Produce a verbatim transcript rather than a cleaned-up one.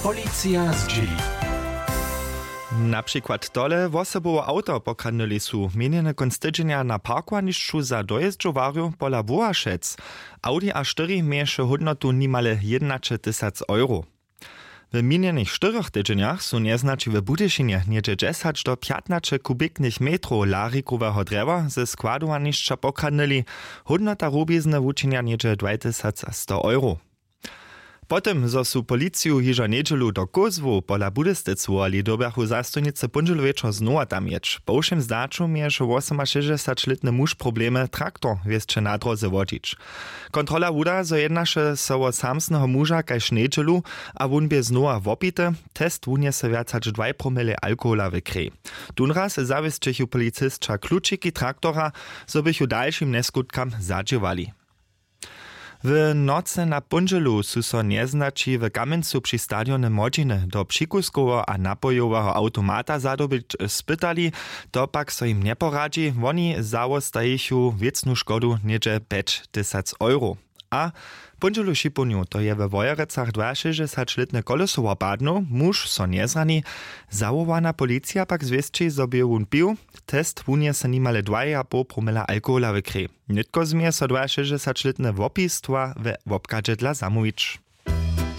Policija zdźěli. Na přikład tole wosobowe awto pokradnyli su měnjeny kónc tydźenja na parkowanišću za dojězdźowarjow pola Wołašec. Audi a štyri měješe hódnotu nimale jědnaćetysac euro. W minjenych štyrjoch tydźenjach su njeznaći w Budyšinje něhdźe dźesać do pjatnaće kubiknych metrow larikoweho drjewa ze składowanišća pokradnyli. Hódnota rubizny wučinja něhdźe dwajtysac sto euro. Po tym zo su policiju hižo njedźelu do kózłow pola budystec wołali, dyrbjachu zastojnicy póndźelu wječor znowa tam jěć. Po wšěm zdaću měješe wosomašěsćdźesaćlětny muž problemy traktor wěsće na dróze wodźić. Kontrola wuda zo jednaše so wo samsneho muža kaž njedźelu, a wón bě znowa wopity. Test wunjese wjac hač dwaj promile alkohola w krej. Tónraz zawěsćechu policisća klučiki traktora, zo běchu dalšim njeskutkam zadźěłali. W nocy na póndźelu su so njeznaći w Kamjencu při stadionje Młodźiny do přikuskeho a napojoweho awtomata zadobyć spytali. To pak so jim njeporadźi. Woni zawostajichu wěcnu škodu něhdźe pjećtysac euro. A póndźelu šipownju to je we Wojerecach dwašěsćdźesaćlětne koleso wopadnył, muž so njezrani. Zawołana policija pak zwěsći, zo bě wón pił. Test wunjese nimale dwajehapoł promila alkohola w krej. Nětko změje so dwašěsćdźesaćlětne wopistwa we wobchadźe dla zamołwić.